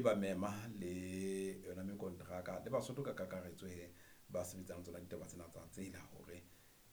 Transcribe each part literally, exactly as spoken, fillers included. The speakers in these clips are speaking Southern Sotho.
ba mema le yona mekonteraka le Basotho ka kakaretso he ba sebetsang tsona ditaba tsena tsa tsela hore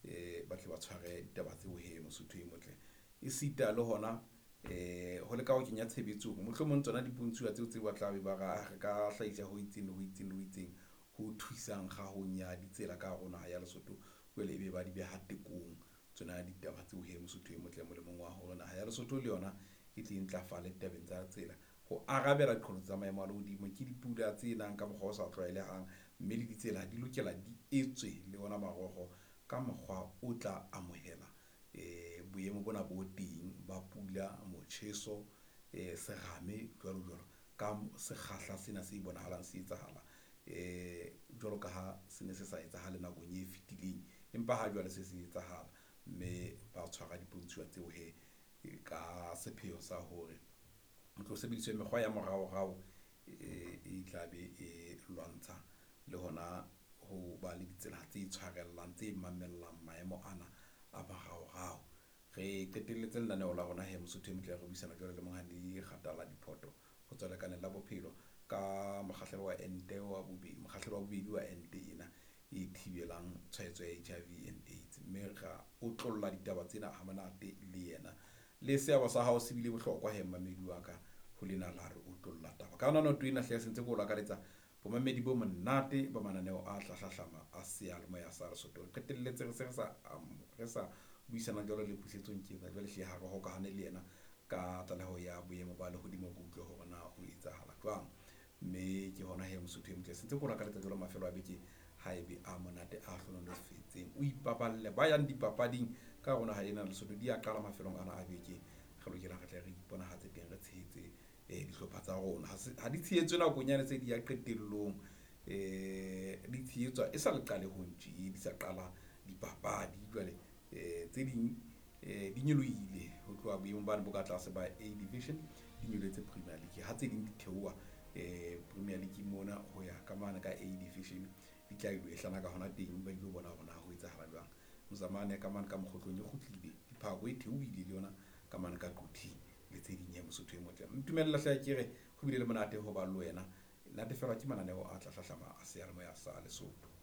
eh ba tle ba tshware ditaba tseo he Mosotho e motle. E sita le hona eh ho leka ho kenya tshebetsong mohlomong tsona dipontshuwa tseo tse ba tla be ba ra re ka hlahisa ho itseng le ho itseng le ho itseng ho thusang kgahong ya ditsela ka hare ho naha ya Lesotho. Jwale ebe ba di beha tekong tsona ditaba tseo he Mosotho e motle molemong wa hore naha ya Lesotho le yona e tle e ntlafale ditabeng tsa tsela. Ho arabela diqholotso tsa maemo a lehodimo ke dipula tse nang ka mokgwa o sa tlwaelehang, mme le ditsela di lokela di etswe le ona marokgo ka mokgwa o tla amohela eh boemo bona bo teng ba pula, motjheso, eh serame jwalo jwalo ka sekgahla sena se bonahalang se etsahala eh jwalo ka ha se ne se sa etsahale nakong e fetileng, empa ha jwale se se etsahala. Mme ba tshwara dipontshuwa tseo he ka sepheo sa hore ho tlo sebediswe mekgwa ya moraorao e tla be e lwantsha le hona ho ba le ditsela tse tshwarellang tse mamellang maemo ana a moraorao. Re qetelletse lenaneo la rona he Mosotho e motle re buisana jwalo le Monghadi Kgatala Diphoto ho tswa lekaleng la bophelo ka mokgahlelo wa ente wa bobedi, mokgahlelo wa bobedi wa ente ena e thibelang tshwaetso ya H I V and AIDS. Mme ra otlolla ditaba tsena ha monate le yena. Le seabo sa hao se bile bohlokwa he mmamedi wa ka ho lena la re otlolla taba. Ka yona noto ena hle se ntse ke o lakaletsa bomamedi bo monate ba mananeo a hlahlahlama a seyalemoya sa Lesotho. Re qetelletse re se re sa re sa buisana jwalo le Pusetsong Ketsa jwale hle ha re hokahane le yena ka tlaleho ya boemo ba lehodimo re utlwe hore na ho etsahala jwang. Mme ke hona he Mosotho e motle se ntse ke o lakaletsa jwalo mafelo a beke ha ebe a monate a hlohonolofetseng. O ipaballe ba yang dipapading ka rona ha ena Lesotho di a qala mafelong ana a beke. Re lokela re tle re iponahatse teng re tshehetse eh dihlopha tsa rona. Ha se ha di tshehetswe nakong yane tse di ya qetellong, eh di tshehetswa e sa le qalehong tje di sa qala dipapadi. Jwale eh tse ding eh di nyolohile ho tloha boemong bane bo ka tlase ba A division di nyolohetse Premier League. Ha tse ding di theoha eh Premier League mona ho ya ka mane ka A division di tla ilo ehlana ka hona teng ba ilo bona hore na ho etsahala jwang. Mozamane ka mane ka mokgotlong e kgutlile, Diphako e theohile le yona ka mane ka Quthing le tse ding he Mosotho e motle. Ntumella hle ke re ho bile le monate ho ba le wena. Natefelwa ke mananeo a tla hlahlama a seyalemoya sa Lesotho.